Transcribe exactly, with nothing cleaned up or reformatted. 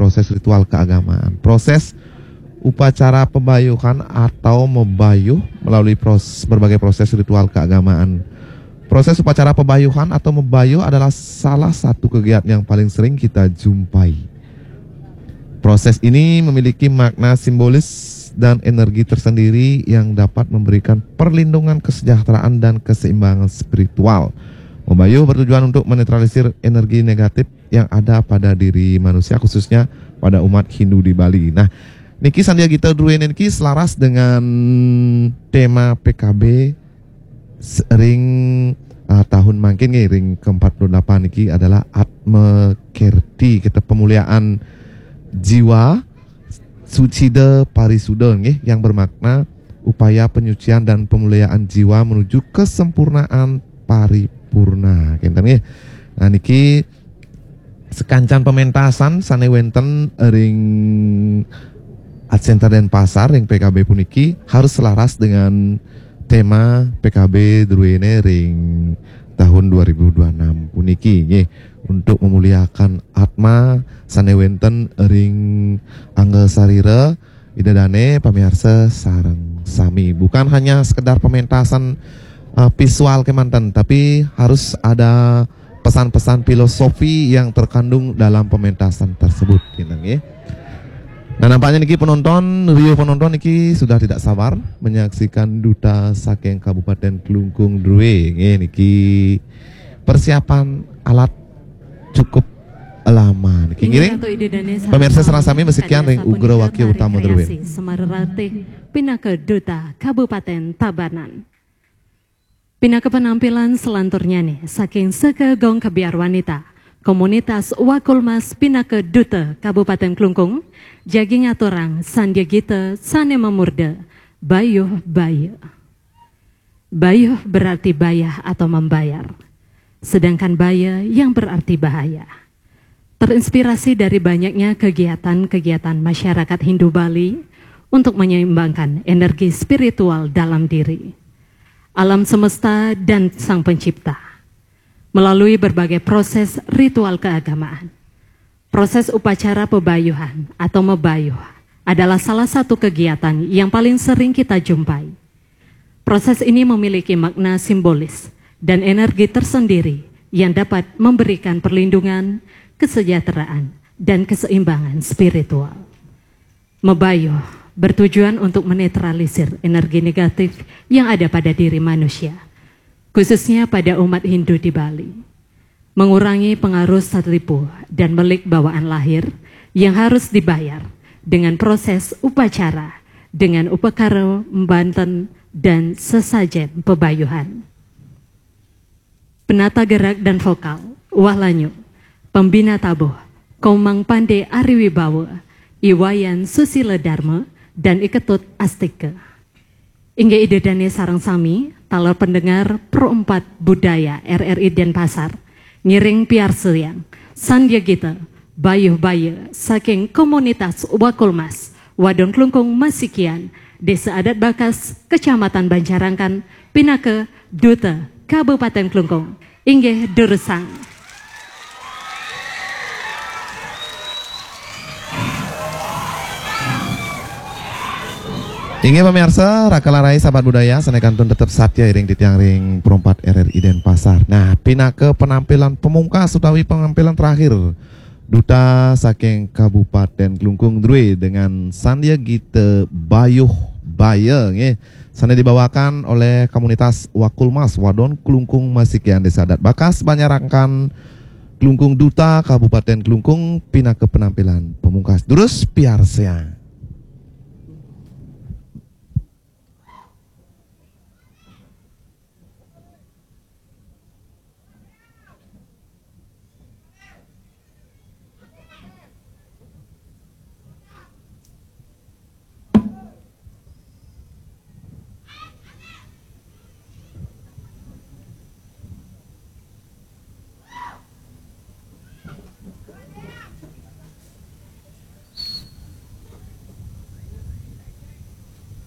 proses ritual keagamaan. Proses upacara pebayuhan atau mebayuh melalui pros, berbagai proses ritual keagamaan. Proses upacara pebayuhan atau mebayuh adalah salah satu kegiatan yang paling sering kita jumpai. Proses ini memiliki makna simbolis dan energi tersendiri yang dapat memberikan perlindungan, kesejahteraan, dan keseimbangan spiritual. Mebayuh bertujuan untuk menetralisir energi negatif yang ada pada diri manusia, khususnya pada umat Hindu di Bali. Nah, niki Sandya Gita druéné niki selaras dengan tema P K B ring uh, tahun mangkin nggih, ring ke empat puluh delapan niki adalah Atma Kerti, kita pemuliaan jiwa sucida parisuda nggih, yang bermakna upaya penyucian dan pemuliaan jiwa menuju kesempurnaan paripurna. Kinten nggih. Nah, niki sekancan pementasan sané wénten ring Art Center Denpasar ring P K B puniki harus selaras dengan tema P K B druéné ring tahun dua ribu dua enam puniki nggih, untuk memuliakan atma sané wénten ring angga sarira Ida dané pamiarsa sareng sami. Bukan hanya sekedar pementasan uh, visual kemanten, tapi harus ada pesan-pesan filosofi yang terkandung dalam pementasan tersebut, kinten nggih. Nah, nampaknya niki penonton, riuh penonton niki sudah tidak sabar menyaksikan duta saking Kabupaten Klungkung drué nggih, niki persiapan alat cukup lama niki. Ngiring pemirsa sareng sami masikian ring ugra wakil utama druéné. Semara Ratih pinaka duta Kabupaten Tabanan. Pinaka penampilan selanturnyané saking Seka Gong Kebiar Wanita, komunitas Wakulmas pinaka duta Kabupaten Klungkung, jagi ngaturang Sandya Gita sané mamurda Bayuh Baya. Bayuh berarti bayah atau membayar, sedangkan baya yang berarti bahaya. Terinspirasi dari banyaknya kegiatan-kegiatan masyarakat Hindu Bali untuk menyeimbangkan energi spiritual dalam diri, alam semesta, dan Sang Pencipta. Melalui berbagai proses ritual keagamaan, proses upacara pebayuhan atau mebayuh adalah salah satu kegiatan yang paling sering kita jumpai. Proses ini memiliki makna simbolis dan energi tersendiri yang dapat memberikan perlindungan, kesejahteraan, dan keseimbangan spiritual. Mebayuh bertujuan untuk menetralisir energi negatif yang ada pada diri manusia, khususnya pada umat Hindu di Bali. Mengurangi pengaruh satipu dan melik bawaan lahir yang harus dibayar dengan proses upacara dengan upakara mbanten dan sesajen pebayuhan. Penata gerak dan vokal, Wah Lanyu, pembina tabuh, Komang Pandé Ari Wibawa, I Wayan Susila Dharma, dan I Ketut Astika. Inggih Ida dané sareng sami, taler pendengar Pro empat Budaya R R I Denpasar, ngiring piarsayang Sandya Gita Bayuh Baya saking komunitas Wakulmas, Wadon Klungkung Masikian, Désa Adat Bakas, Kecamatan Banjarangkan, pinaka Duta Kabupaten Klungkung. Inggih durusang. Inggih pamiarsa, Raka Larai sahabat budaya, sané kantun tetep satya iring titiang ring Pro empat R R I Denpasar. Nah, pinaka penampilan pemungkas utawi penampilan terakhir Duta saking Kabupaten Klungkung drué dengan Sandya Gita Bayuh Baya nggih. Sané dibawakan oleh komunitas Wakulmas Wadon Klungkung Masikian Désa Adat Bakas Banjarangkan Klungkung, Duta Kabupaten Klungkung pinaka penampilan pemungkas. Durus piarsayang.